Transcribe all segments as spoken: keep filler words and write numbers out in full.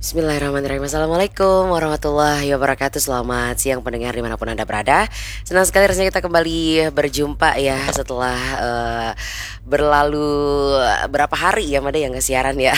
Bismillahirrahmanirrahim. Assalamualaikum warahmatullahi wabarakatuh. Selamat siang pendengar dimanapun Anda berada. Senang sekali rasanya kita kembali berjumpa ya setelah eh, berlalu berapa hari ya Mada yang kesiaran ya.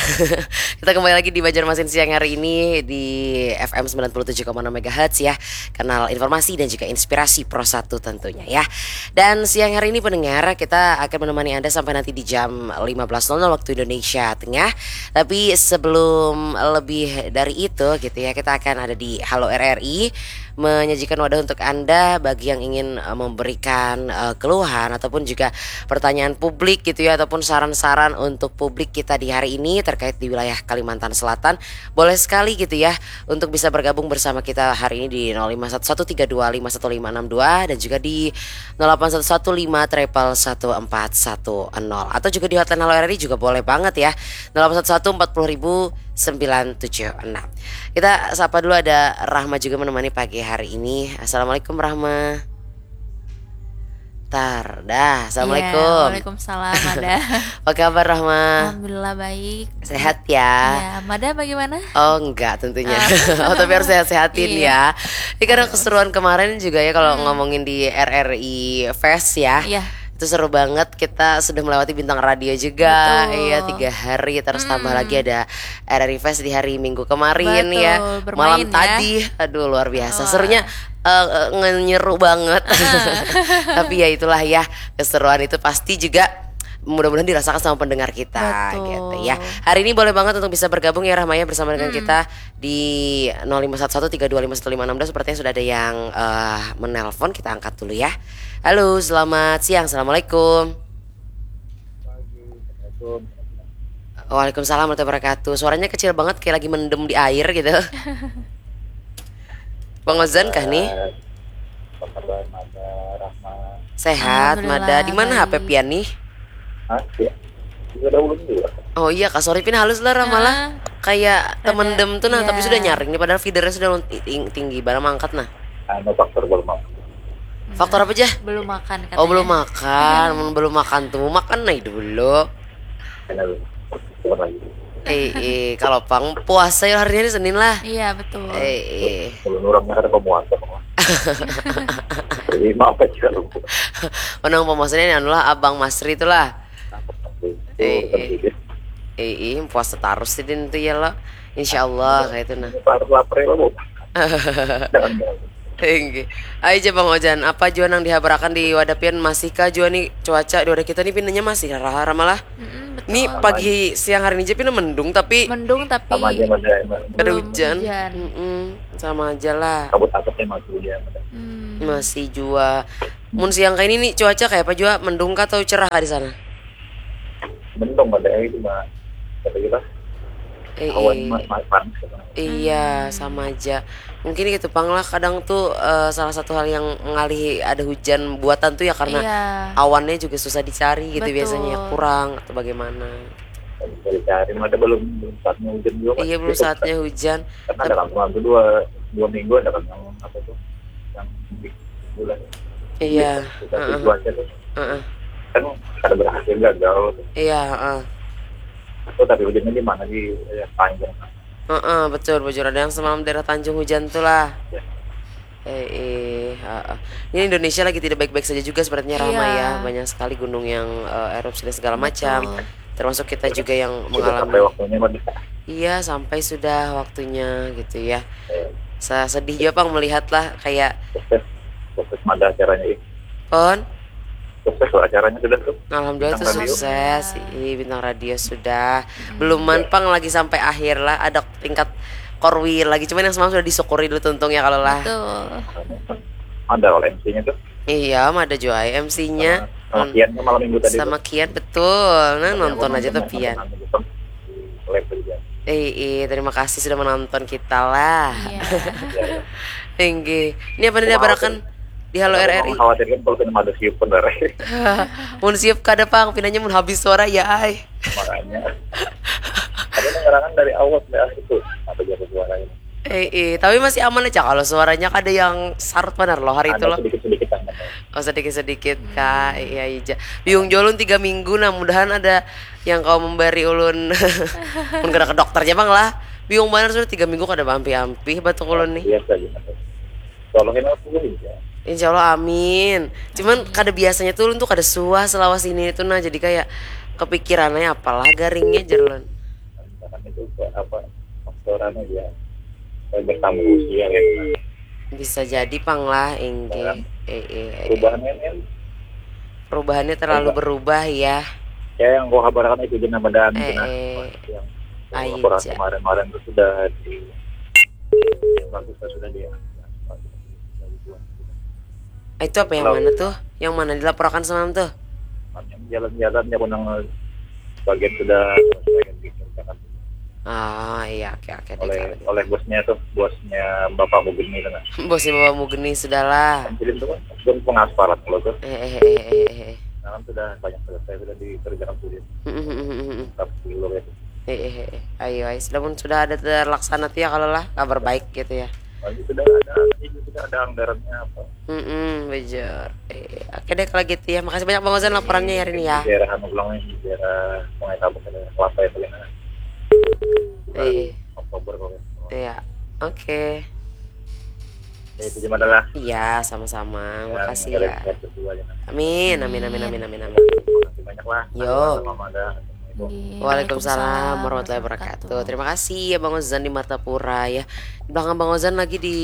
Kita kembali lagi di Banjarmasin siang hari ini di F M sembilan puluh tujuh koma enam megahertz ya. Kanal informasi dan juga inspirasi Pro satu tentunya ya. Dan siang hari ini pendengar kita akan menemani Anda sampai nanti di jam lima belas nol nol waktu Indonesia Tengah. Tapi sebelum lebih dari itu gitu ya, kita akan ada di Halo R R I menyajikan wadah untuk Anda bagi yang ingin eh, memberikan eh, keluhan ataupun juga pertanyaan publik gitu ya, ataupun saran-saran untuk publik kita di hari ini terkait di wilayah Kalimantan Selatan. Boleh sekali gitu ya untuk bisa bergabung bersama kita hari ini di nol lima satu satu tiga dua lima satu lima enam dua dan juga di nol delapan satu satu lima triple satu empat satu nol, atau juga di hotline Halo R R I juga boleh banget ya, nol delapan satu satu empat puluh ribu sembilan tujuh enam. Kita sapa dulu, ada Rahma juga menemani pagi hari ini. Assalamualaikum Rahma. Tar, dah. Assalamualaikum. Iya, waalaikumsalam, Mada. Apa kabar Rahma? Alhamdulillah baik. Sehat ya? Ya, Mada bagaimana? Oh enggak tentunya. Oh, oh tapi harus sehat-sehatin iya. Ya. Ini karena keseruan kemarin juga ya kalau hmm. Ngomongin di R R I Fest ya. Iya. Itu seru banget, kita sudah melewati bintang radio juga. Betul. Iya, tiga hari, terus hmm. Tambah lagi ada R R I Fest di hari Minggu kemarin. Betul, ya. Bermain malam ya. Tadi, aduh luar biasa. Wah. Serunya uh, ngenyeru banget. Tapi ya itulah ya, keseruan itu pasti juga mudah-mudahan dirasakan sama pendengar kita. Betul. Gitu ya. Hari ini boleh banget untuk bisa bergabung ya Rahmaya bersama dengan hmm. Kita di nol lima satu satu tiga dua lima satu lima enam dua. Sepertinya sudah ada yang uh, menelpon, kita angkat dulu ya. Halo, selamat siang. Assalamualaikum. Waalaikumsalam warahmatullahi wabarakatuh. Suaranya kecil banget kayak lagi mendem di air gitu. Bang Ozan kah nih? Apa kabar Mada Rahma? Sehat Mada. Di mana H P pian nih? Hah? Ya. Juga ada ulun juga. Oh iya, Kak Sorry pin halus lah Rahma lah. Nah, kayak temendem tuh nah, iya. Tapi sudah nyaring nih padahal feedernya sudah tinggi barang mangkat nah. Anu faktor belum makan. Faktor apa aja? Belum makan katanya. Oh belum makan, belum makan tuh makan nah dulu. Eh, eh, kalau pang puasa ya hari ini Senin lah. Iya betul. Eh, eh. Belum orang ada pemuasa. Jadi maaf aja lu. Menang pemuasa ini anu lah Abang Masri itulah. Eh, eh. Eh, eh, puasa terus sih din tuh ya lo. Insya Allah kayak itu nah. Lapar lapar ya lo. Tinggi. Ayo aja Bang Ojan, apa jua nang dihabarakan di wadah pian masihkah jua nih cuaca di wadah kita nih pinanya masih rahar malah. Mm-mm, betul. Nih pagi siang hari ini aja pina mendung tapi mendung tapi sama aja ada hujan. Hujan. Mm-mm, sama aja lah. Kabut asapnya masih hujan. Hmm. Masih jua. Mun siang kayak ini nih cuaca kayak apa jua mendung kah atau cerah kah di sana? Mendung pada hari itu mah. Kata kita. Eh, awan eh. Panas. Iya, hmm. Sama aja. Mungkin gitu pang lah kadang tuh uh, salah satu hal yang mengalihi ada hujan buatan tuh ya karena iya. Awannya juga susah dicari gitu betul. Biasanya kurang atau bagaimana. Susah dicari, ada belum belum saatnya hujan juga. Iya, belum saatnya hujan. Karena ada kan tuh dua dua minggu ada kan yang apa tuh yang bulan. Iya. Kita uh-uh. Cuaca tuh. Uh-uh. Kan ada berhasil gagal. Iya, uh-uh. Itu tapi hujannya di mana di ya, panjang. Heeh, betul bujur ada yang semalam daerah Tanjung hujan tuh lah. Ya. Eh, eh, uh, ini Indonesia lagi tidak baik-baik saja juga sepertinya Rama iya. Ya banyak sekali gunung yang uh, erupsi dan segala macam. Termasuk kita juga yang mengalami. Sampai waktunya, iya sampai sudah waktunya gitu ya. Ya. Saya sedih juga pang melihat lah kayak. Proses, proses mada acaranya. Pon. Sukses lah acaranya sudah tuh. Alhamdulillah tuh sukses. Ih, bintang radio sudah. Hmm. Belum manpang lagi sampai akhir lah. Ada tingkat korwil lagi. Cuman yang semalam sudah disyukuri dulu tuntungnya kalau lah. Betul. Ada kalau M C-nya tuh. Iya, ada juga M C-nya. Sama, sama Kian malam minggu tadi. Sama tuh. Kian betul. Nah, nonton aja tuh Pian. Eh, eh, terima kasih sudah menonton kita lah. Iya. Tinggi. Ini apa nih barakan? Di Halo R R I. Khawatir kan kalau kena mada siup bener. Mun siup kada pang, pinanya mun habis suara ya ai. Makanya. Ada pengerangan dari awal sampai akhir tuh. Apa jago suaranya? Eh, eh, tapi masih aman aja kalau suaranya kada yang syarat benar loh hari itu loh. Sedikit-sedikit aman. Oh sedikit-sedikit kak, iya aja. Biung jolun tiga minggu, nah mudahan ada yang kau memberi ulun. Mun kena ke dokter aja bang lah. Bingung banar sudah tiga minggu kada baampih-ampih batuk ulun nih. Biasa aja. Tolongin aku juga. Insya Allah amin. Cuman kada biasanya tuh ulun tuh kada suah selawas ini tuh nah, jadi kayak kepikirannya apalah garingnya jer ulun. Misalkan itu apa faktorannya dia bertambah usia ya. Bisa jadi pang lah inggih. Eh, eh, eh. Perubahannya kan Perubahannya terlalu berubah ya. Ya yang kau kabarkan itu jenah badan Eh, jenah eh. yang Ayo, laporan Ja. Kemarin-kemarin itu sudah di yang bagus sudah dia. Itu apa yang mana tuh? Yang mana dilaporkan semalam tuh? Jalan-jalannya aku nang bagian sudah bagian dikerjakan Oh iya, oke oke deh oleh kalau gitu. Oleh bosnya tuh, bosnya bapakku gini kan. Bosnya bapakmu geni sudahlah. Jadi itu kan pun pengaspalan kalau tuh. Eh eh eh eh eh. Sekarang sudah banyak selesai sudah dikerjakan sudah. Hmm, hmm, hmm, hmm, hmm. Tapi dulu ya. Eh, eh, eh, eh. Ayo, ayo. Sudah pun sudah ada terlaksana tuh ya kalau lah kabar baik gitu ya. Lagi sudah ada, ini sudah ada anggarannya apa? Hmm, bujur. Eh, oke deh kalau gitu ya. Makasih banyak Bang Ozan laporannya ya Rini ya. Di daerah anu pulang nih, di daerah Sungai Tabuk, daerah Kelapa ya paling enak. Eh, Oktober kalau nggak salah. Iya. Oke. Ya, itu cuma adalah Iya, sama-sama. Makasih ya. Sehat berdua ya. Amin, amin, amin, amin, amin, amin. Makasih banyak lah. Yo. Sama ada. Nggih, Waalaikumsalam warahmatullahi wabarakatuh. Terima kasih ya Bang Ozan di Martapura ya. Di belakang Bang Ozan lagi di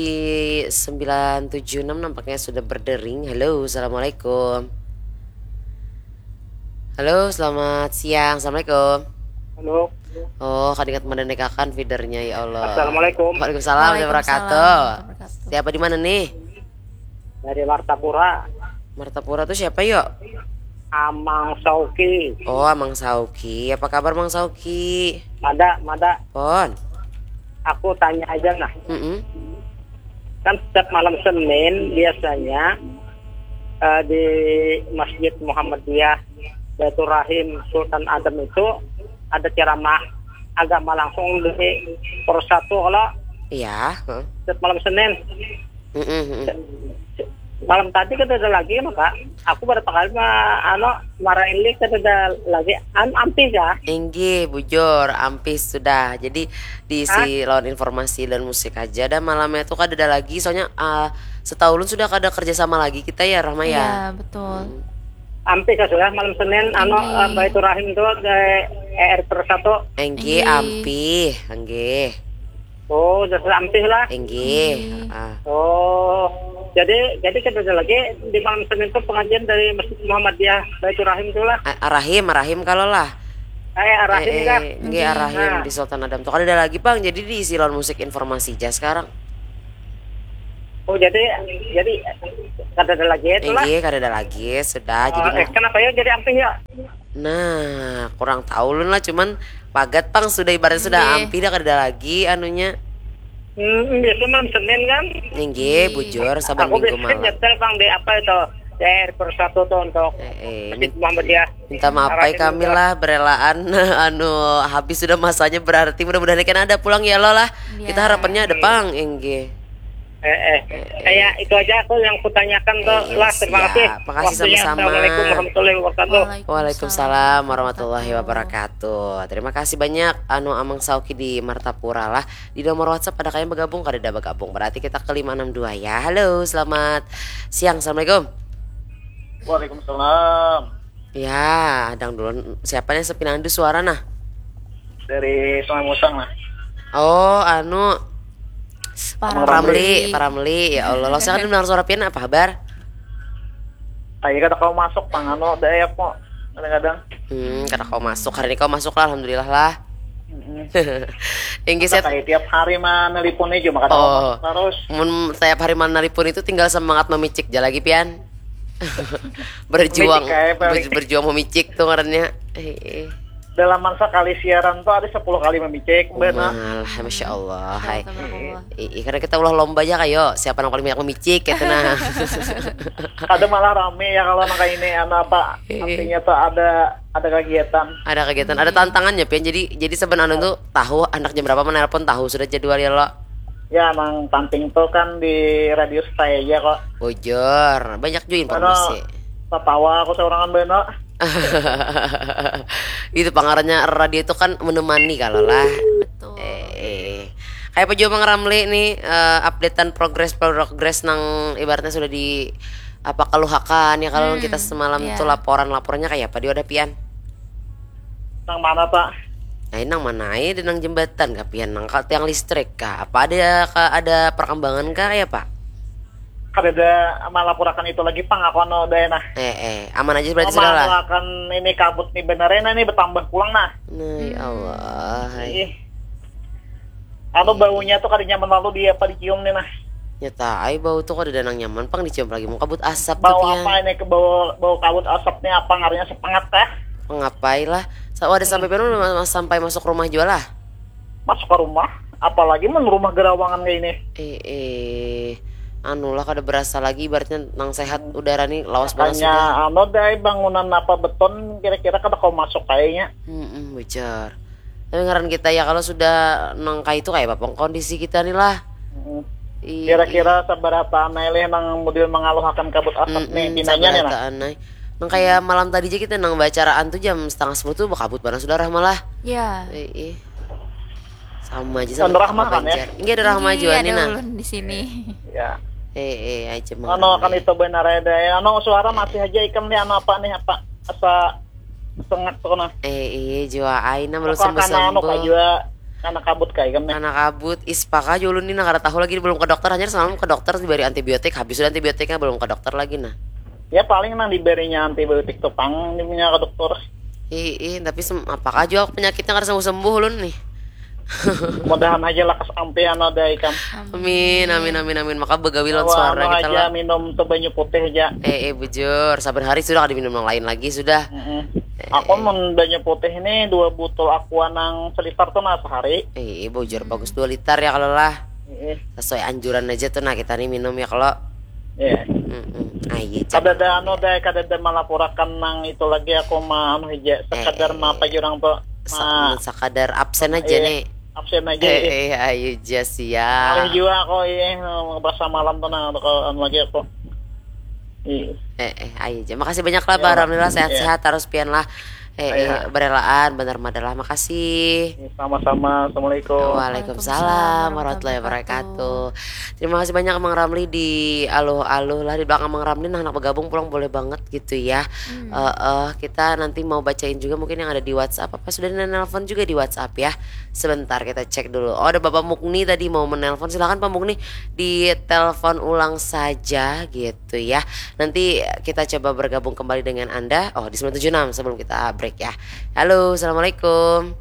sembilan tujuh enam nampaknya sudah berdering. Halo, assalamualaikum. Halo, selamat siang. Assalamualaikum. Halo. Oh, kada ingat mendenekakan feedernya ya Allah. Assalamualaikum. Waalaikumsalam warahmatullahi wabarakatuh. Siapa di mana nih? Dari Martapura. Martapura tuh siapa yuk? Amang Sauki. Oh, Amang Sauki. Apa kabar Mang Sauki? Mada, mada. Pon. Aku tanya aja nah. Mm-mm. Kan setiap malam Senin biasanya eh, di Masjid Muhammadiyah Baiturrahim Sultan Adam itu ada ceramah agama langsung di Persatu kalau Iya. Heeh. Setiap malam Senin. Mm-mm, mm-mm. Malam tadi kan ada lagi maka aku berapa kali ma, ano marahin li kan ada lagi an ampih ya. Inggih, bujur, ampih sudah. Jadi diisi lawan informasi dan musik aja. Dan malamnya tuh kada ada lagi. Soalnya ah, setahunan sudah kada kerja sama lagi kita ya, Rahma ya. Iya, betul. Ampih kan sudah malam Senin ano Inggih. eh, Baiturrahim tuh di E R Persatu. Inggih, Inggih. ampih, inggih. Oh, sudah sudah ampih lah. Inggih. Ah. Oh, jadi jadi kan ada lagi di malam Senin tuh pengajian dari Masjid Muhammadiyah Baiturrahim tuh lah. A- Arahim, Arahim kalau lah. Eh, Arahim Eh, kah? eh, nggih Arahim Nah. Di Sultan Adam tuh kada ada lagi Bang, jadi diisi lawan musik informasi aja sekarang. Oh, jadi jadi kada ada lagi itu lah. Inggih, kada ada lagi, sudah. Jadi Oh, eh, mau- kenapa ya jadi ampih ya? Nah, kurang tahu lun lah, cuman pagat pang sudah ibaratnya sudah Nggih. Ampih dah kada ada lagi anunya. Hmm, biasa malam Senin kan? Inggih, bujur saban Aku minggu biasa malam. Nyetel bang di apa itu? D R Persatu tuh untuk Eh, eh, Masjid min- Muhammadiyah. Minta maaf ai Arahim kami juga. Lah berelaan anu habis sudah masanya, berarti mudah-mudahan kan ada pulang ya lo lah. Kita Ya. Harapannya ada pang, inggih. Eh, eh. Kayak itu aja aku yang kutanyakan tuh Eh, lah. Terima kasih. Siap. Makasih Waktunya. sama-sama. Assalamualaikum warahmatullahi wabarakatuh. Waalaikumsalam warahmatullahi wabarakatuh. Terima kasih banyak anu Amang Sauki di Martapura lah. Di nomor WhatsApp ada kayaknya bergabung, kada ada bergabung. Berarti kita ke lima enam dua ya. Halo, selamat siang. Assalamualaikum. Waalaikumsalam. Ya, dang dulu. Siapa nih sepinandu suara nah? Dari Sungai Musang lah. Oh, anu Para Ramli, Ramli. Ya Allah, lo saya kan dengar suara pian, apa kabar? Ayo kada kau masuk pang anu dayak kok kadang-kadang. Hmm, kada kau masuk. Hari ini kau masuk lah, alhamdulillah lah. Mm-mm. Inggih set. Kayak tiap hari mah nelpon aja maka Oh. Terus Mun tiap hari mana nelpon itu tinggal semangat memicik aja lagi pian. Berjuang Memicik kayak apa, ber- berjuang memicik tuh ngarannya. Eh, eh. Dalam sekali siaran tuh ada sepuluh kali memicik benar. Malah, masya Allah. Hai. Tabarakallah. Ih, karena kita ulah lomba aja kayo siapa yang paling banyak memicik gitu nah. Ada malah rame ya kalau nang kayak ini anu apa Iya. Artinya tuh ada ada kegiatan. Ada kegiatan, ada tantangannya pian. Jadi jadi sebenarnya tuh tahu anak jam berapa menelpon, tahu sudah jadwal ya lo. Ya emang penting tuh kan di radio stay aja kok. Bujur, banyak juga informasi. Tatawa aku seorang beno. Itu pangarannya radio itu kan menemani kalau lah. Betul. Eh, eh. Kaya apa jua Mang Ramli nih, eh, updatean progres-progres nang ibaratnya sudah di apa keluhakan ya kalau kita hmm, semalam ya. Tuh laporan-laporannya kayak apa di wadah pian? Nang mana pak? Nah, nang mana aja nang jembatan kah pian nang tiang listrik kah? Apa ada ada perkembangan kah kayak apa? Kada ada malapurakan itu lagi pang aku anu daya nah. Eh eh, aman aja berarti sudah lah. Malapurakan ini kabut nih bener nah nih bertambah pulang nah. Nah, ya Allah. Ih. Anu baunya tuh kada nyaman lalu di apa dicium nih nah. Nyata ai bau tuh kada ada nang nyaman pang dicium lagi mau kabut asap tuh. Bau apa ini ke bau bau kabut asap nih apa ngaruhnya sepengat kah? Pengapai lah. Sa- ada sampai pian sampai masuk rumah jua lah. Masuk ke rumah, apalagi mun rumah gerawangan kayak ini. Eh eh. Anu lah kada berasa lagi ibaratnya nang sehat udara nih lawas banget. Makanya sudah. Anu deh bangunan apa beton kira-kira kada kau masuk kayaknya. Hmm, hmm, bejar. Tapi ngaran kita ya kalau sudah nang kayak itu kayak apa kondisi kita nih lah. Hmm. Iya. Kira-kira seberapa anai leh nang model mengaluhakan kabut asap nih pinanya nih lah. Nang kayak malam tadi aja kita nang bacaraan tuh jam setengah sepuluh tuh bakabut barang sudah rahmah lah. Ya. Eh, eh. Sama aja sama Rahmah kan ya? Enggak ada Rahmah juga nih nah. Ulun di sini. Ya. Eh, eh, aja mau. Anu kan itu benar ada ya. Anu suara masih aja ikam nih anu apa nih apa asa sengak tuh nah. Eh iya jua aina belum sembuh sembuh. Anu kayak juga anak kabut kayak kan nih. Anak kabut ispaka aja ulun nih nah kada tahu lagi belum ke dokter hanya semalam ke dokter diberi antibiotik habis sudah antibiotiknya belum ke dokter lagi nah. Ya paling nang diberinya antibiotik tuh pang punya ke dokter. Ih, ih tapi sem apakah juga penyakitnya kada sembuh sembuh ulun nih. Mudahan aja lakas ampian ada ikam. Amin amin amin amin maka begawi lawan suara kita lah. Minum tuh banyu putih aja. Eh eh bujur sabar hari sudah kada minum yang lain lagi sudah. Mm -mm. Eh, aku eh. Mun banyu putih ini dua botol aqua nang selitar tuh nah sehari. Eh eh bujur hmm. Bagus dua liter ya kalau lah. Mm -mm. Sesuai anjuran aja tuh nah kita nih minum ya kalau. Iya. Mm -mm. Ah, iya, kada ada anu deh, kada ada malapurakan nang itu lagi aku mah anu hija sekadar eh, eh, apa jurang tuh. Sa- sekadar absen aja iya. Nih. Absen aja. Eh, eh, ayo jas ya. Ayo juga aku iya pas malam tuh nah kalau anu lagi aku. Iya. Eh, eh, ayo aja. Makasih banyak lah, ya, Alhamdulillah sehat-sehat ya. Terus pian lah. Eh, eh, berelaan bener madalah makasih. Sama-sama. Assalamualaikum. Waalaikumsalam warahmatullahi wabarakatuh. Terima kasih banyak Mang Ramli di aluh-aluh lah di belakang Mang Ramli nah anak bergabung pulang boleh banget gitu ya. Hmm. Uh, uh, kita nanti mau bacain juga mungkin yang ada di WhatsApp apa sudah nelpon juga di WhatsApp ya. Sebentar kita cek dulu. Oh ada Bapak Mukni tadi mau menelpon silakan Pak Mukni di telepon ulang saja gitu. Gitu ya. Nanti kita coba bergabung kembali dengan Anda. Oh, di sembilan tujuh enam sebelum kita break ya. Halo, assalamualaikum.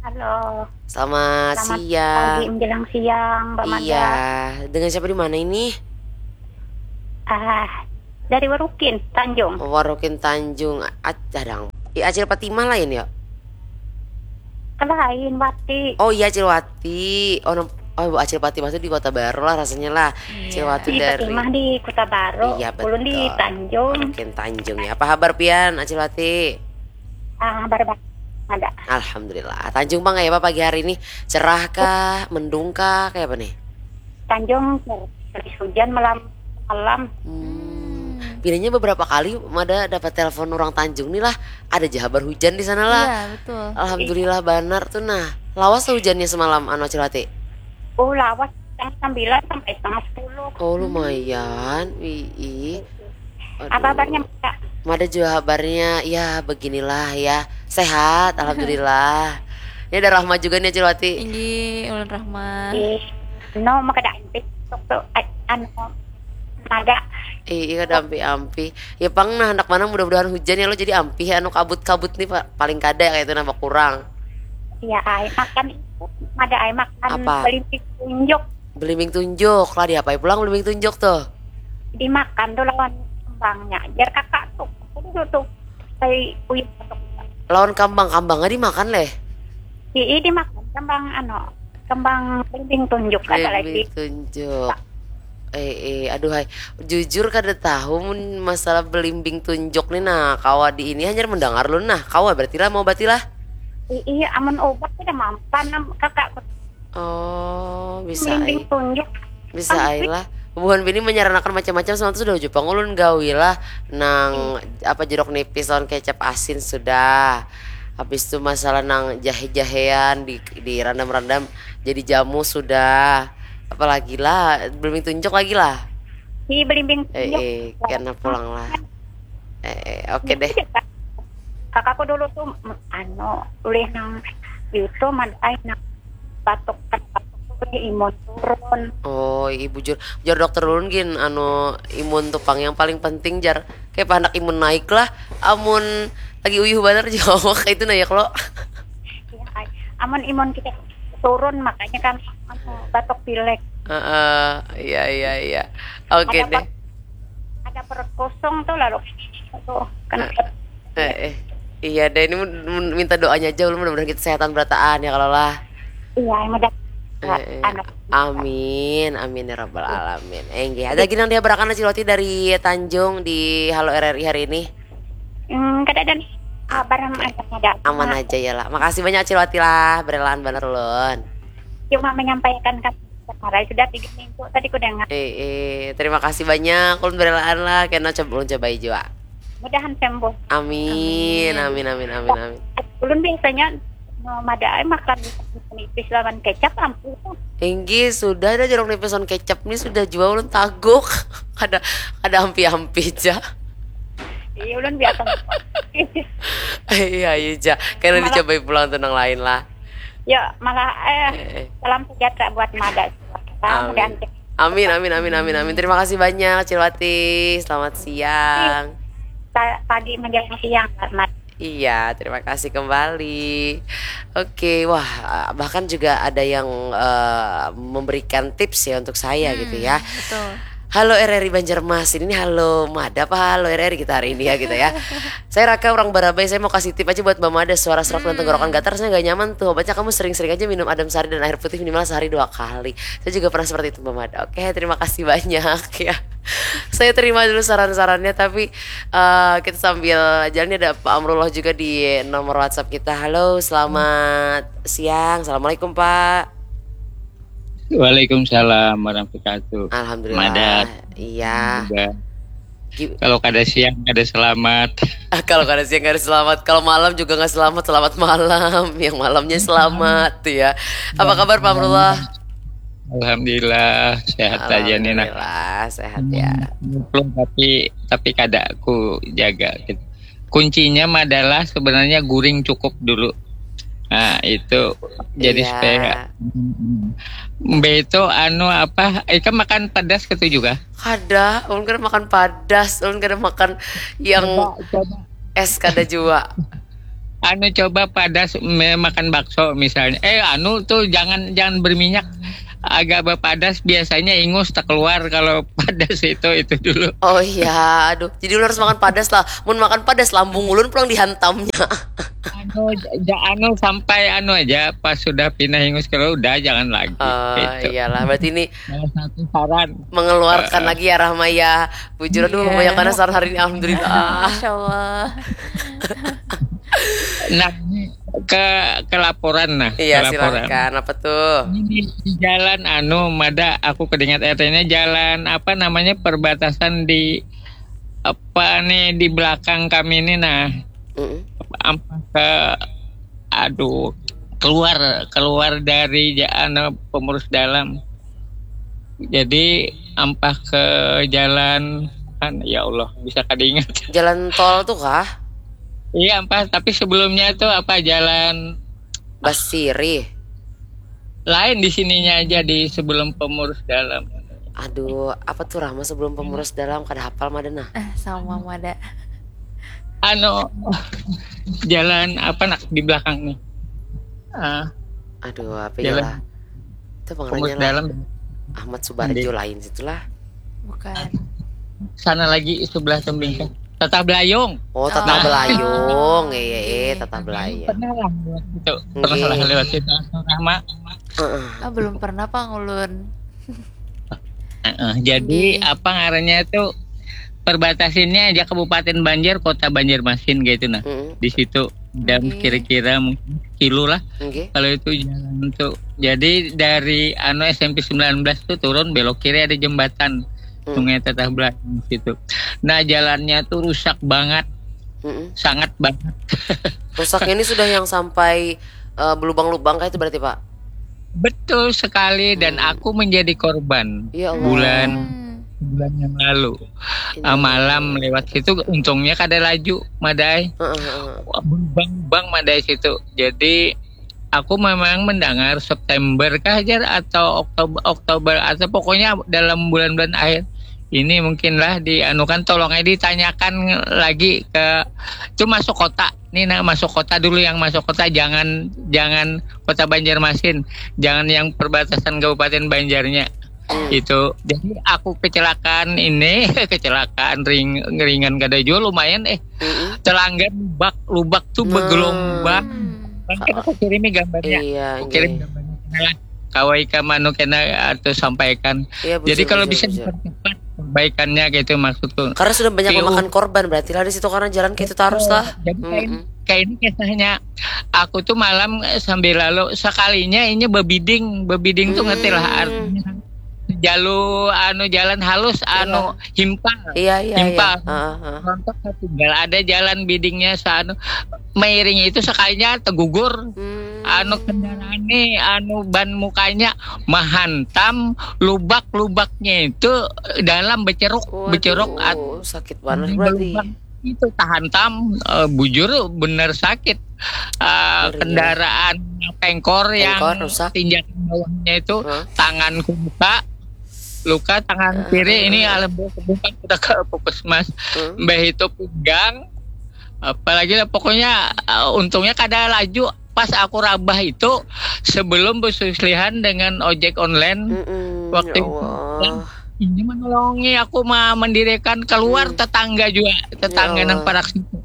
Halo. Selamat, selamat siang. Pagi menjelang siang, Mbak Mada. Iya, dengan siapa di mana ini? Ah, dari Warukin, Tanjung. Oh, Warukin Tanjung. Acadang. Acil Fatimah lain ya? Lain, Wati. Oh iya, Acil Wati. Oh, oh Acil Fatimah tuh di Kota Baru lah rasanya lah. Iya. Acil Wati dari Fatimah di Kota Baru. Iya, betul. Ulun di Tanjung. Oke, Tanjung ya. Apa kabar pian, Acil Wati? Ah, kabar baik. Ada. Alhamdulillah. Tanjung bang ya apa pagi hari ini? Cerah kah, mendung kah, kayak apa nih? Tanjung habis hujan malam malam. Hmm. Pinanya beberapa kali Mada dapat telepon orang Tanjung nih lah. Ada jahabar hujan di sana lah. Iya, betul. Alhamdulillah banar tuh nah. Lawas tuh hujannya semalam anu Acil Wati? Oh, lawas setengah sembilan sampai setengah sepuluh. Oh, lumayan. Wih. Apa kabarnya Mada? Mada juga kabarnya ya beginilah ya. Sehat alhamdulillah. Ini ada Rahma juga nih Acil Wati. Ini ulun Rahma. Ih, no maka ada antik waktu anu Mada. Ih, iya ada ampi-ampi. Ya pang nah anak mana mudah-mudahan hujan ya lo jadi ampi anu kabut-kabut nih paling kada kayak itu nambah kurang. Iya, ai makan itu Mada ai makan apa? Belimbing tunjuk. Belimbing tunjuk lah diapai pulang belimbing tunjuk tuh? Dimakan tuh lawan kembangnya. Jar kakak tuh, aku dulu tuh kayak uyuh tuh. Lawan kambang, kambangnya dimakan leh? Ii dimakan kembang ano, kembang belimbing tunjuk ada lagi. Belimbing tunjuk. Eh, eh, aduh hai. Jujur kada tahu mun masalah belimbing tunjuk nih nah kawa di ini hanya mendengar lu nah kawa berarti lah mau berarti lah. Iya, amun obat tidak mampan kakak. Oh, bisa ai. Bisa ai lah. Buhan bini menyaranakan macam-macam semua sudah ujung pangulun gawi lah nang apa jeruk nipis lawan kecap asin sudah. Habis tu masalah nang jahe-jahean di di randam-randam jadi jamu sudah. Apalagi lah, belimbing tunjuk lagi lah. Hi, belimbing Eh, tunjuk. eh, kena pulang lah. Eh, eh, oke deh. Kakakku dulu tuh, mm, anu, ulih nang itu, madai nang batuk, batuk tuh ulih imun turun. Oh, ibu jur, jar dokter ulun gin, anu, imun tu pang yang paling penting, jar. Kayak anak imun naik lah, amun lagi uyuh banar jua awak itu nah ya, Klo. Ya, ai. Amun imun kita turun, makanya kan, anu, batuk pilek. Heeh, iya, iya, iya. Oke Ada deh. per- ada perut kosong tuh, lalu tuh kena. Eh, eh. Iya deh, ini mun- mun- minta doanya aja, ulun mudah-mudahan kita sehatan berataan ya, kalau lah. Iya, yang udah. Eh, eh. Anak. Amin, amin ya rabbal alamin. Eh, nggih. Ada lagi nang dihabarakan Acil Wati dari Tanjung di Halo R R I hari ini? Hmm, kada ada nih. Kabar yang ada, ada. Aman aja ya lah. Makasih banyak Acil Wati lah, berelaan banar ulun. Cuma menyampaikan kan, kemarin sudah tiga minggu tadi ku dengar. Eh, eh, terima kasih banyak, ulun berelaan lah, kena coba ulun cobai jua. Mudahan sembuh. Amin, amin, amin, amin, amin. Ulun biasanya, no, madai makan nipis lawan kecap, ampun. Inggih, sudah ada jeruk nipis on kecap nih, sudah jua ulun taguk. Kada kada ampi-ampi ja. Iya, ulun biasa. Iya, iya ja. Kena Malah- dicobai pulang tuh nang lain lah. Ya, malah, eh, Eh, eh. Salam sejahtera buat Mada. Amin. Amin, amin, amin, amin, amin. Terima kasih banyak, Acil Wati. Selamat siang. Pa- pagi menjelang siang, Mat. Iya, terima kasih kembali. Oke, wah, bahkan juga ada yang eh, memberikan tips ya untuk saya gitu ya. Betul. Halo R R I Banjarmasin, ini halo Mada apa halo R R I kita hari ini ya gitu ya. Saya Raka orang Barabai, saya mau kasih tip aja buat Mbak Mada, suara serak dan tenggorokan gatal rasanya nggak nyaman tuh. Obatnya kamu sering-sering aja minum Adem Sari dan air putih minimal sehari dua kali. Saya juga pernah seperti itu Mbak Mada. Oke, terima kasih banyak ya. Saya terima dulu saran-sarannya, tapi eh, kita sambil jalan, ini ada Pak Amrullah juga di nomor WhatsApp kita. Halo, selamat siang. Assalamualaikum Pak. Waalaikumsalam warahmatullahi wabarakatuh. Alhamdulillah. Madat. Iya. Juga. Gi- Kalau kada siang kada selamat. Kalau kada siang kada selamat, kalau malam juga nggak selamat, selamat malam. Yang malamnya selamat tuh ya. Apa kabar Pak Amrullah? Alhamdulillah sehat aja nih nah. Alhamdulillah sehat ya. Belum, tapi tapi kada ku jaga gitu. Kuncinya adalah sebenarnya guring cukup dulu. Nah, itu jadi Iya. Supaya Mbak itu anu apa? Ika makan pedas gitu juga? Kada, ulun kada makan padas, ulun kada makan yang Coba, coba es kada jua. Anu coba padas me- makan bakso misalnya. Eh anu tuh jangan jangan berminyak. Agak berpadas biasanya ingus tak keluar kalau padas itu itu dulu. Oh iya, aduh. Jadi ulun harus makan padas lah. Mun makan padas lambung ulun pulang dihantamnya. Anu, ja- anu sampai anu aja pas sudah pindah ingus kalau udah jangan lagi. Oh Gitu. Iyalah, berarti ini Salah satu saran. Mengeluarkan lagi ya Rahma ya. Bujur aduh Iya. Banyak panas saran hari ini, alhamdulillah. Masya Allah. Nah ini ke ke laporan nah. Iya Ke laporan. Silahkan. Apa tuh? Ini di, di jalan anu Mada aku kedingat R T-nya jalan apa namanya perbatasan di apa nih di belakang kami ini nah Mm-mm. ampas ke aduh keluar keluar dari ja- anu, pengurus dalam jadi ampas ke jalan kan ya Allah bisa kadingat Jalan tol tuh kah? Iya ampas tapi sebelumnya itu apa jalan Basiri. Lain di sininya aja di sebelum pengurus dalam. Aduh, apa tuh Rahma sebelum pengurus dalam kada hafal Mada nah. Eh, sama Mada. Anu jalan apa nak di belakang nih? Ah, Aduh, apa Jalan. Iyalah. Itu pengurus pengerannya lah. dalam Ahmad Subarjo Iya. Lain situlah. Bukan. Sana lagi sebelah tembing kan. Tatah Belayong. Oh, Tatah Oh. Belayong. Iya, iya, Iya. Tatah Belayong. Pernah lah lewat situ. Pernah Iya. lah lewat situ. Rahma. Heeh. Ah, belum pernah Pak ngulun. Heeh, jadi Nggih. Apa ngarannya itu perbatasinnya aja Kabupaten Banjar, Kota Banjarmasin gitu nah. Mm-mm. Di situ dan Nggih. Kira-kira mungkin kilo lah Nggih. kalau itu jalan tuh. Jadi dari anu S M P sembilan belas tuh turun belok kiri ada jembatan Hmm. Sungai Tatah Belayong situ. Nah jalannya tuh rusak banget. Mm-mm. Sangat banget. Rusaknya ini sudah yang sampai eh, berlubang-lubang kayak itu berarti, Pak? Betul sekali, dan Hmm. aku menjadi korban Ya Allah. bulan Hmm. bulan yang lalu. Ini. Ah, malam lewat situ, untungnya kada laju, madai. Heeh, heeh. Berlubang-lubang, madai situ. Jadi aku memang mendengar September kah, Jar, atau Oktober, Oktober atau pokoknya dalam bulan-bulan akhir ini mungkinlah dianukan, tolong aja ditanyakan lagi ke itu masuk kota. Nih, nah, masuk kota dulu, yang masuk kota, jangan jangan kota Banjarmasin, jangan yang perbatasan Kabupaten Banjarnya. Hmm. Itu. Jadi aku kecelakaan ini, kecelakaan ring, ringan kada jua, lumayan eh Mm-mm. Telanggar lubak, lubak tuh Nah. bergelombang. Hmm. Nanti aku kirimi gambarnya. Iya, Aku kirim nggih. Gambarnya kena lah. Kawai ka manu kena atau sampaikan. Iya, Jadi bujur, kalau bujur, bisa bujur. dipercepat perbaikannya gitu maksudku. Karena sudah banyak Piu. Memakan korban berarti lah di situ, karena jalan kayak itu terus lah. Jadi kayak ini, Mm-mm. kayak ini kisahnya. Aku tuh malam eh, sambil lalu, sekalinya ini bebiding, bebiding tuh ngerti lah Hmm. artinya. Jalu anu jalan halus, anu himpal. Iya, iya, iya. Himpal. Heeh, heeh. Rontok tinggal ada jalan bidingnya seanu, mairing itu sekalinya tegugur. Hmm. Anu kendaraan nih, anu ban mukanya menghantam lubak-lubaknya itu dalam, beceruk, Waduh, beceruk at- sakit banget ini berarti. Berlubang. Itu tahantam, eh, bujur bener sakit. Eh, Ngeri, ya. Kendaraan pengkor yang Pengkor rusak. Tinjakan bawahnya itu, Hah? Tanganku luka, luka tangan Ah, kiri ah, ini, ah. Alhamdulillah, bukan, udah ke puskesmas. Hmm. Mbah itu pinggang, apalagi lah, pokoknya eh, untungnya kada laju. Pas aku rabah itu, sebelum bersuslihan dengan ojek online, Mm-mm, waktu ya itu Allah. Ini menolongi aku ma- mendirikan keluar Hmm. Tetangga juga, tetangga Ya nang Allah. parak situ.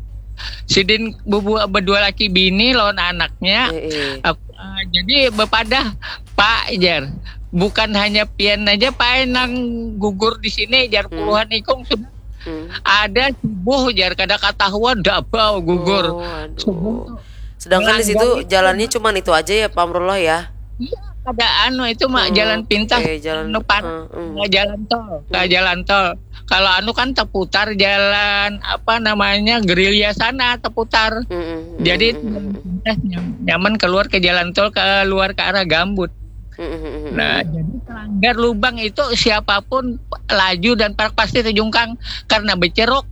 Sidin berdua, berdua laki bini lawan anaknya. Eh, eh. Aku, ah, jadi bepadah, "Pak," jar, "bukan hanya pian aja, Pak, nang gugur di sini," jar, Hmm. "puluhan ikung sudah. Hmm. Ada subuh," jar, "kada katahuan dabau gugur." Oh, aduh. Subuh tuh Sedangkan di situ melanggar itu. Jalannya cuma itu aja ya, Pak Amrullah ya? Iya, ada anu itu mah Hmm, jalan pintas, eh, jalan, anu, pan- eh, hmm. eh, jalan tol, ke Hmm. jalan tol. Kalau anu kan terputar jalan apa namanya, gerilya sana terputar. Mm-mm, Jadi mm-mm, jalan mm-mm. pintas nyam- nyaman keluar ke jalan tol, keluar ke arah Gambut. Mm-mm, mm-mm, Nah, mm-mm. Jadi Telanggar lubang itu siapapun laju dan parak pasti terjungkang karena beceruk.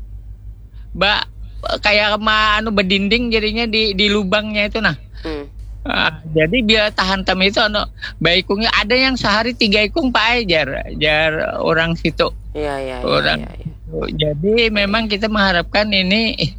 Ba, kayak ma anu bedinding jadinya di di lubangnya itu nah. Hmm. Ah, jadi bila tahantam itu anu, baikungnya ada yang sehari tiga ikung, Pak ai, jar, jar orang situ. Iya, iya, iya, Orang iya, iya. Jadi memang kita mengharapkan ini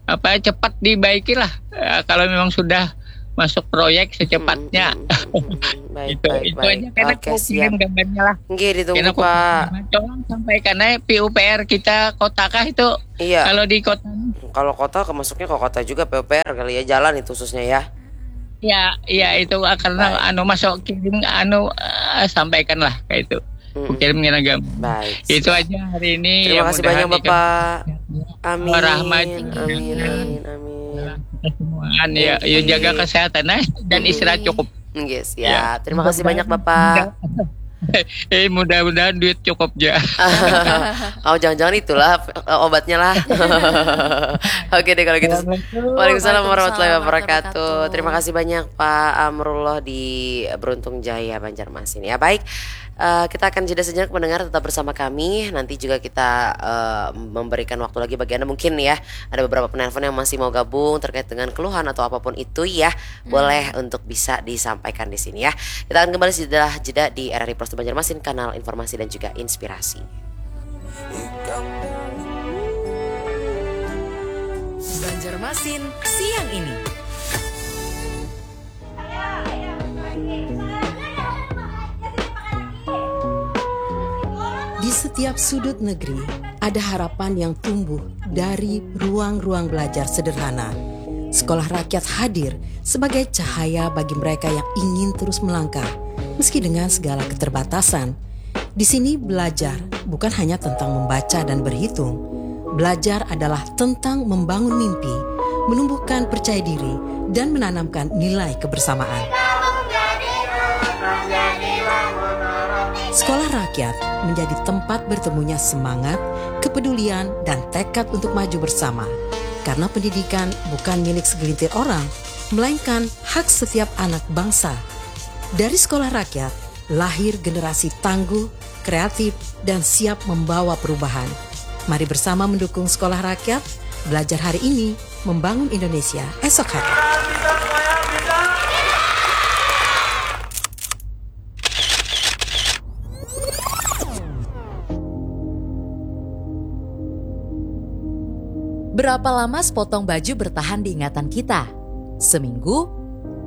apa, cepat dibaiki lah. Eh, kalau memang sudah masuk proyek secepatnya. Mm-mm, mm-mm, mm-mm. Baik, Itu baik, itu baik. Aja karena Oke, aku siap. Kirim gambarnya lah. Nggih, ditunggu, Karena aku Pak. Tolong sampaikan aja P U P R kita kota kah itu. Iya. Kalau di kota, Kalau kota, kemasuknya ke kota juga, P U P R kali ya, jalan itu khususnya ya. Ya, ya itu, ah, karena Baik. Anu masuk kirim anu, eh, sampaikan lah kayak itu. Mm-mm. Kirim kena gambar. Baik. Itu aja hari ini. Terima kasih banyak, Bapak. Amin. Rahmat. Amin, amin, amin. Kita semuaan ya, ya jaga kesehatan eh, dan istirahat cukup. Nggih, Ya, siap. Terima kasih banyak, mudah-mudahan Bapak. Eh, mudah-mudahan duit cukup ya. Oh, jangan-jangan itulah eh, obatnya lah. Oke deh kalau gitu. Assalamualaikum. Waalaikumsalam warahmatullahi Waalaikumsalam wabarakatuh. warahmatullahi Terima kasih banyak Pak Amrullah di Beruntung Jaya, Banjarmasin. Ya baik, eh, kita akan jeda sejenak mendengar, tetap bersama kami. Nanti juga kita eh, memberikan waktu lagi bagi Anda, mungkin ya ada beberapa penelpon yang masih mau gabung terkait dengan keluhan atau apapun itu ya, boleh untuk bisa disampaikan di sini ya. Kita akan kembali setelah jeda di R R I Plus Banjarmasin, kanal informasi dan juga inspirasi. Banjarmasin siang ini. Di setiap sudut negeri, ada harapan yang tumbuh dari ruang-ruang belajar sederhana. Sekolah rakyat hadir sebagai cahaya bagi mereka yang ingin terus melangkah, meski dengan segala keterbatasan. Di sini belajar bukan hanya tentang membaca dan berhitung. Belajar adalah tentang membangun mimpi, menumbuhkan percaya diri, dan menanamkan nilai kebersamaan. Sekolah rakyat menjadi tempat bertemunya semangat, kepedulian, dan tekad untuk maju bersama. Karena pendidikan bukan milik segelintir orang, melainkan hak setiap anak bangsa. Dari sekolah rakyat, lahir generasi tangguh, kreatif, dan siap membawa perubahan. Mari bersama mendukung sekolah rakyat, belajar hari ini, membangun Indonesia esok hari. Berapa lama sepotong baju bertahan di ingatan kita? Seminggu?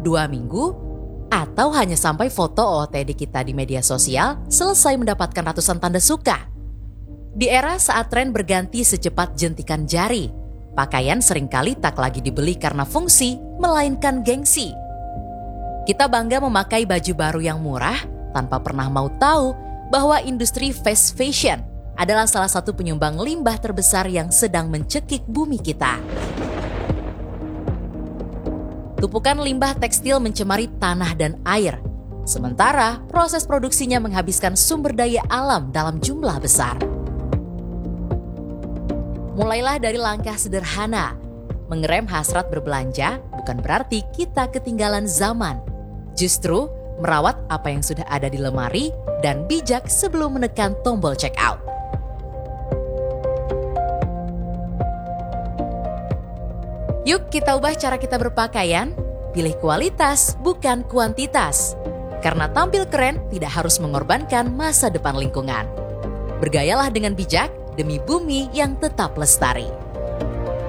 Dua minggu? Atau hanya sampai foto O O T D kita di media sosial selesai mendapatkan ratusan tanda suka? Di era saat tren berganti secepat jentikan jari, pakaian seringkali tak lagi dibeli karena fungsi, melainkan gengsi. Kita bangga memakai baju baru yang murah tanpa pernah mau tahu bahwa industri fast fashion adalah salah satu penyumbang limbah terbesar yang sedang mencekik bumi kita. Tumpukan limbah tekstil mencemari tanah dan air, sementara proses produksinya menghabiskan sumber daya alam dalam jumlah besar. Mulailah dari langkah sederhana. Mengerem hasrat berbelanja bukan berarti kita ketinggalan zaman. Justru, merawat apa yang sudah ada di lemari dan bijak sebelum menekan tombol check out. Yuk kita ubah cara kita berpakaian, pilih kualitas bukan kuantitas. Karena tampil keren tidak harus mengorbankan masa depan lingkungan. Bergayalah dengan bijak demi bumi yang tetap lestari.